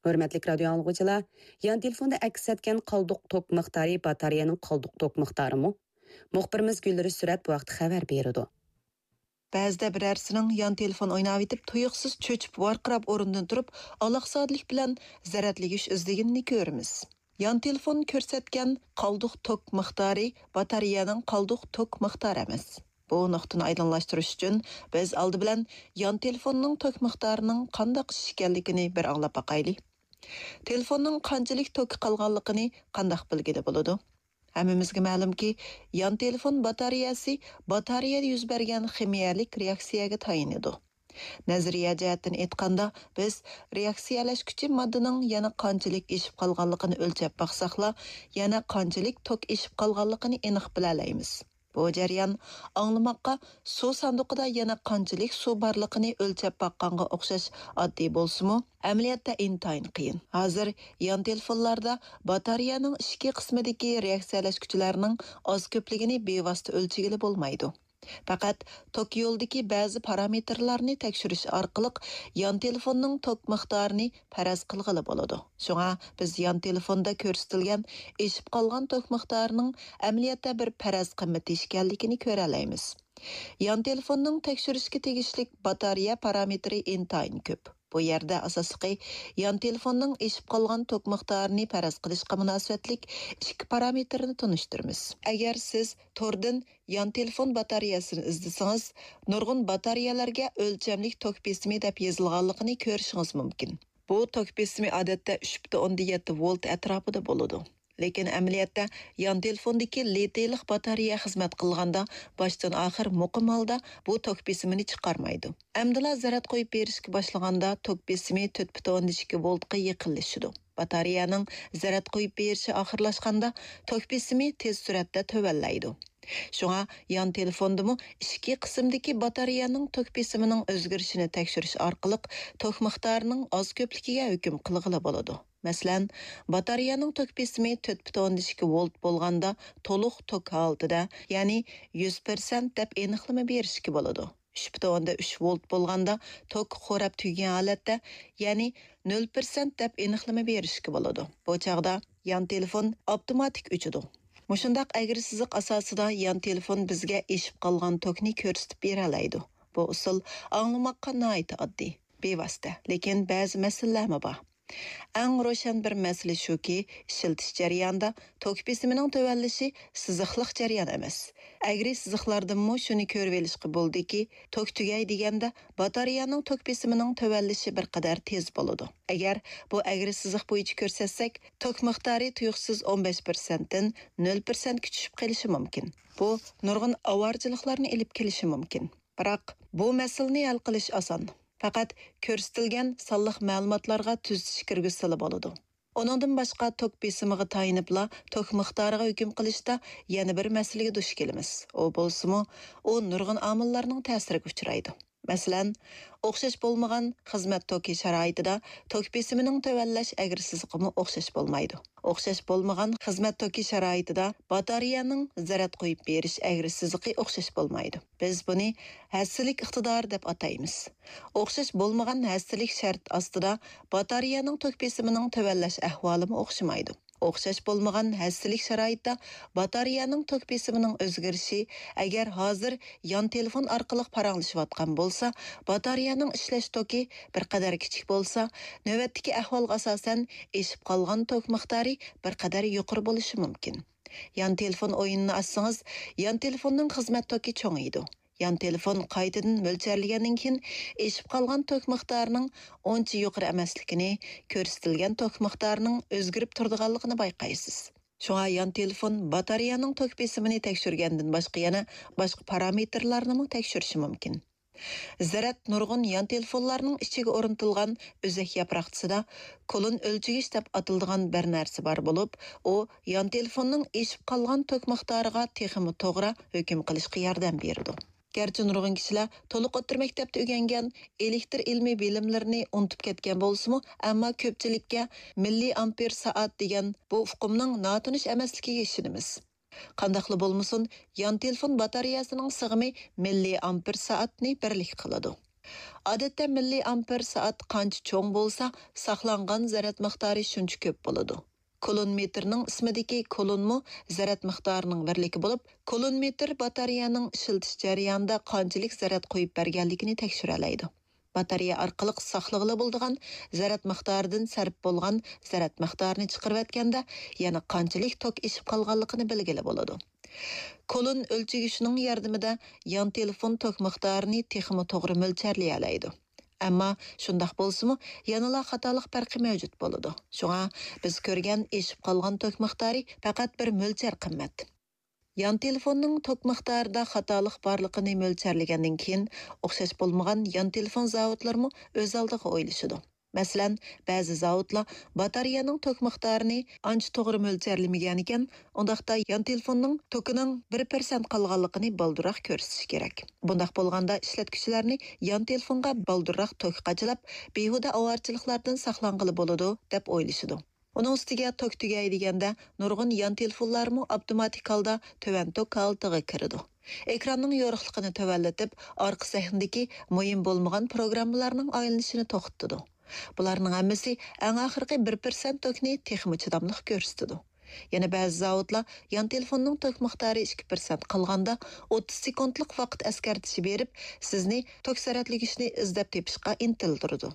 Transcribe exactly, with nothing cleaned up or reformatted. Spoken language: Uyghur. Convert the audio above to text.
ھۆرمەتلىك رادىيو ئاڭلىغۇچىلار، يان تېلېفوندا ئەكس ئەتكەن قالدۇق توك مىقدارى باتارېيەنىڭ قالدۇق توك مىقدارىمۇ؟ مۇخبىرىمىز گۈلرۈش سۈرەت بۇ ھەقتە خەۋەر بېرىدۇ. بەزىدە بىرەرسىنىڭ يان تېلېفون ئويناۋېتىپ، تۇيۇقسىز چۆچۈپ، ۋارقىراپ ئورنىدىن تۇرۇپ، ئالاقزادىلىك بىلەن زەرەتلىگۈچ ئىزدىگىنىنى كۆرىمىز. يان تېلېفون كۆرسەتكەن قالدۇق توك مىقدارى باتارېيەنىڭ قالدۇق توك مىقدارى ئەمەس. بۇ نۇقتىنى ئايدىڭلاشتۇرۇش ئۈچۈن، بىز ئالدى بىلەن يان تېلېفوننىڭ توك مىقدارىنىڭ قانداق ئىش ئىكەنلىكىنى بىر ئاڭلاپ باقايلى. تېلېفوننىڭ قانچىلىك توكى قالغانلىقىنى قانداق بىلگىلى بولىدۇ؟ ھەممىمىزگە مەلۇمكى، يان تېلېفون باتارېيەسى باتارېيەدە يۈز بەرگەن خىمىيەلىك رېئاكسىيەگە تايىنىدۇ. نەزەرىيە جەھەتتىن ئېيتقاندا، بىز رېئاكسىيەلەشكۈچى ماددىنىڭ يەنە قانچىلىك ئېشىپ قالغانلىقىنى ئۆلچەپ باقساقلا، يەنە قانچىلىك توك ئېشىپ قالغانلىقىنى ئېنىق بىلەلەيمىز. بۇ جەريان ئاڭلىماققا سۇ ساندۇقىدا يەنە قانچىلىك سۇ بارلىقىنى ئۆلچەپ باققانغا ئوخشاش ئاددىي بولسىمۇ، ئەمەلىيەتتە ئىنتايىن قىيىن. ھازىر يان تېلېفونلاردا باتارېيەنىڭ ئىچكى قىسمىدىكى رېئاكسىيەلەشكۈچىلەرنىڭ ئاز-كۆپلۈكىنى بىۋاسىتە ئۆلچىگىلى بولمايدۇ. پەقەت توك يولىدىكى بەزى پارامېتىرلارنى تەكشۈرۈش ئارقىلىق يان تېلېفوننىڭ توك مىقدارىنى پەرەز قىلغىلى بولىدۇ. شۇڭا بىز يان تېلېفوندا كۆرسىتىلگەن ئېشىپ قالغان توك مىقدارىنىڭ ئەمەلىيەتتە بىر پەرەز قىممىتى ئىكەنلىكىنى كۆرەلەيمىز. يان تېلېفوننىڭ تەكشۈرۈشكە تېگىشلىك باتارېيە پارامېتىرى ئىنتايىن كۆپ. بۇ يەردە ئاساسلىقى يان تېلېفوننىڭ ئېشىپ قالغان توك مىقدارىنى پەرەز قىلىشقا مۇناسىۋەتلىك ئىككى پارامېتىرنى تونۇشتۇرىمىز. ئەگەر سىز توردىن يان تېلېفون باتارېيەسىنى ئىزدىسىڭىز، نۇرغۇن باتارېيەلەرگە ئۆلچەملىك توك بېسىمى دەپ يېزىلغانلىقىنى كۆرۈشىڭىز مۇمكىن. بۇ توك بېسىمى ئادەتتە ئۈچ پۈتۈن ئوندىن يەتتە ۋولت ئەتراپىدا بولىدۇ. لېكىن ئەمەلىيەتتە يان تېلېفوندىكى لىتىيلىق باتارېيە خىزمەت قىلغاندا باشتىن ئاخىر مۇقىم ھالدا بۇ توك بېسىمىنى چىقارمايدۇ. ئەمدىلا زەرەت قويۇپ بېرىشكە باشلىغاندا توك بېسىمى تۆت پۈتۈن ئوندىن ئىككى ۋولتقا يېقىنلىشىدۇ. باتارېيەنىڭ زەرەت قويۇپ بېرىشى ئاخىرلاشقاندا توك بېسىمى تېز سۈرئەتتە تۆۋەنلەيدۇ. شۇڭا يان تېلېفوندىمۇ ئىچكى قىسىمدىكى باتارېيەنىڭ توك بېسىمىنىڭ ئۆزگىرىشىنى تەكشۈرۈش ئارقىلىق توك مىقدارىنىڭ ئاز-كۆپلۈكىگە ھۆكۈم قىلغىلى بولىدۇ. مەسىلەن، باتارېيەنىڭ توك بېسىمى تۆت پۈتۈن ئوندىن ئىككى ۋولت بولغاندا تولۇق توك ھالىتىدە، يەنى يۈز پىرسەنت دەپ ئېنىقلىما بېرىشكە بولىدۇ. ئۈچ پۈتۈن ئوندىن ئۈچ ۋولت بولغاندا توك خوراپ تۈگىگەن ھالەتتە، يەنى نۆل پىرسەنت دەپ ئېنىقلىما بېرىشكە بولىدۇ. بۇ چاغدا يان تېلېفون ئاپتوماتىك ئۆچىدۇ. مۇشۇنداق ئەگرى سىزىق ئاساسىدا يان تېلېفون بىزگە ئېشىپ قالغان توكنى كۆرسىتىپ بېرەلەيدۇ. بۇ ئۇسۇل ئاڭلىماققا ناھايىتى ئاددىي، بىۋاسىتە، لېكىن بەزى مەسىلىلەرمۇ بار. ئەڭ روشەن بىر مەسىلە شۇكى، ئىشلىتىش جەريانىدا توك بېسىمىنىڭ تۆۋەنلىشى سىزىقلىق جەريان ئەمەس. ئەگرى سىزىقلاردىنمۇ شۇنى كۆرۈۋېلىشقا بولىدۇكى، توك تۈگەي دېگەندە باتارېيەنىڭ توك بېسىمىنىڭ تۆۋەنلىشى بىر قەدەر تېز بولىدۇ. ئەگەر بۇ ئەگرى سىزىق بويىچە كۆرسەتسەك، توك مىقدارى تۇيۇقسىز ئون بەش پىرسەنتتىن نۆل پىرسەنتكە چۈشۈپ قېلىشى مۇمكىن. بۇ نۇرغۇن ئاۋارىچىلىقلارنى ئېلىپ كېلىشى مۇمكىن. بىراق، بۇ مەسىلىنى ھەل قىلىش ئاسان. پەقەت كۆرسىتىلگەن سانلىق مەلۇماتلارغا تۈزىتىش كىرگۈزسىلا بولىدۇ. ئۇنىڭدىن باشقا، توك بېسىمىغا تايىنىپلا توك مىقدارىغا ھۆكۈم قىلىشتا يەنە بىر مەسىلىگە دۇچ كېلىمىز. ئۇ بولسىمۇ، ئۇ نۇرغۇن ئامىللارنىڭ تەسىرىگە ئۇچرايدۇ. مەسىلەن، ئوخشاش بولمىغان خىزمەت توكى شارائىتىدا توك بېسىمىنىڭ تۆۋەنلەش ئەگرى سىزىقىمۇ ئوخشاش بولمايدۇ. ئوخشاش بولمىغان خىزمەت توكى شارائىتىدا باتارېيەنىڭ زەرەت قويۇپ بېرىش ئەگرى سىزىقى ئوخشاش بولمايدۇ. بىز بۇنى ھەسسىلىك ئىقتىدارى دەپ ئاتايمىز. ئوخشاش بولمىغان ھەسسىلىك شەرت ئاستىدا باتارېيەنىڭ توك بېسىمىنىڭ تۆۋەنلەش ئەھۋالىمۇ ئوخشىمايدۇ. ئوخشاش بولمىغان ھەسسىلىك شارائىتتا باتارېيەنىڭ توك بېسىمىنىڭ ئۆزگىرىشى، ئەگەر ھازىر يان تېلېفون ئارقىلىق پاراڭلىشىۋاتقان بولسا، باتارېيەنىڭ ئىشلەش توكى بىر قەدەر كىچىك بولسا، نۆۋەتتىكى ئەھۋالغا ئاساسەن ئېشىپ قالغان توك مىقدارى بىر قەدەر يۇقىرى بولۇشى مۇمكىن. يان تېلېفون ئويۇنىنى ئاچسىڭىز، يان تېلېفوننىڭ خىزمەت توكى چوڭىيىدۇ. يان تېلېفون قايتىدىن مۆلچەرلىگەندىن كېيىن، ئېشىپ قالغان توك مىقدارىنىڭ ئۇنچە يۇقىرى ئەمەسلىكىنى، كۆرسىتىلگەن توك مىقدارىنىڭ ئۆزگىرىپ تۇرىدىغانلىقىنى بايقايسىز. شۇڭا يان تېلېفون باتارېيەنىڭ توك بېسىمىنى تەكشۈرگەندىن باشقا يەنە باشقا پارامېتىرلارنىمۇ تەكشۈرۈشى مۇمكىن. زەرەت نۇرغۇن يان تېلېفونلارنىڭ ئىچىگە ئورنىتىلغان ئۈزۈك ياپراقچىسىدا كولون ئۆلچىگۈچ دەپ ئاتىلىدىغان بىر نەرسە بار بولۇپ، ئۇ يان تېلېفوننىڭ ئېشىپ قالغان توك مىقدارىغا تېخىمۇ توغرا ھۆكۈم قىلىشقا ياردەم بېرىدۇ. گەرچە نۇرغۇن كىشىلەر تولۇق ئوتتۇرا مەكتەپتە ئۆگەنگەن ئېلېكتر ئىلمىي بىلىملىرىنى ئۇنتۇپ كەتكەن بولسىمۇ، ئەمما كۆپچىلىككە مىللىي ئامپېر سائەت دېگەن بۇ ئۇقۇمنىڭ ناتونۇش ئەمەسلىكىگە ئىشىنىمىز. قانداقلا بولمىسۇن، يان تېلېفون باتارېيەسىنىڭ سىغىمى مىللىي ئامپېر سائەتنى بىرلىك قىلىدۇ. ئادەتتە مىللىي ئامپېر سائەت قانچە چوڭ بولسا، ساقلانغان زەرەت مىقدارى شۇنچە كۆپ بولىدۇ. كۇلون مېتىرنىڭ ئىسمىدىكى كۇلونمۇ زەرەت مىقدارىنىڭ بىرلىكى بولۇپ، كۇلون مېتىر باتارېيەنىڭ ئىشلىتىش جەريانىدا قانچىلىك زەرەت قويۇپ بەرگەنلىكىنى تەكشۈرەلەيدۇ. باتارېيە ئارقىلىق ساقلىغىلى بولىدىغان زەرەت مىقدارىدىن سەرپ بولغان زەرەت مىقدارىنى چىقىرىۋەتكەندە، يەنە قانچىلىك توك ئېشىپ قالغانلىقىنى بىلگىلى بولىدۇ. كولون ئۆلچىگۈچنىڭ ياردىمىدە يان تېلېفون توك مىقدارىنى تېخىمۇ توغرا مۆلچەرلىيەلەيدۇ. ئەمما شۇنداق بولسىمۇ، يەنىلا خاتالىق پەرقى مەۋجۇت بولىدۇ. شۇڭا بىز كۆرگەن ئېشىپ قالغان توك مىقدارى پەقەت بىر مۆلچەر قىممەت. يان تېلېفوننىڭ توك مىقدارىدا خاتالىق بارلىقىنى مۆلچەرلىگەندىن كېيىن، ئوخشاش بولمىغان يان تېلېفون زاۋۇتلىرىمۇ ئۆز ئالدىغا ئويلىشىدۇ. مەسىلەن، بەزى زاۋۇتلار باتارېيەنىڭ توك مىقدارىنى ئانچە توغرا مۆلچەرلىمىگەنىكەن، ئۇنداقتا يان تېلېفوننىڭ توكىنىڭ بىر پىرسەنت قالغانلىقىنى بالدۇرراق كۆرسىتىشى كېرەك. بۇنداق بولغاندا ئىشلەتكۈچىلەرنى يان تېلېفونغا بالدۇرراق توك قاچىلاپ، بىھۇدە ئاۋارىچىلىقلاردىن ساقلانغىلى بولىدۇ، دەپ ئويلىشىدۇ. ئۇنىڭ ئۈستىگە توك تۈگەي دېگەندە، نۇرغۇن يان تېلېفونلارمۇ ئاپتوماتىك ھالدا تۆۋەن توك ھالىتىگە كىرىدۇ. ئېكراننىڭ يورۇقلۇقىنى تۆۋەنلىتىپ، ئارقا سەھنىدىكى مۇھىم بولمىغان پروگراممىلارنىڭ ئايلىنىشىنى توختىتىدۇ. بۇلارنىڭ ھەممىسى ئەڭ ئاخىرقى بىر پىرسەنت توكنى تېخىمۇ چىداملىق كۆرسىتىدۇ. يەنە بەزى زاۋۇتلار يان تېلېفوننىڭ توك مىقدارى ئىككى پىرسەنت قالغاندا، ئوتتۇز سېكۇنتلۇق ۋاقىت ئەسكەرتىشى بېرىپ، سىزنى توك زەرەتلىگۈچنى ئىزدەپ تېپىشقا ئىنتىلدۈرىدۇ.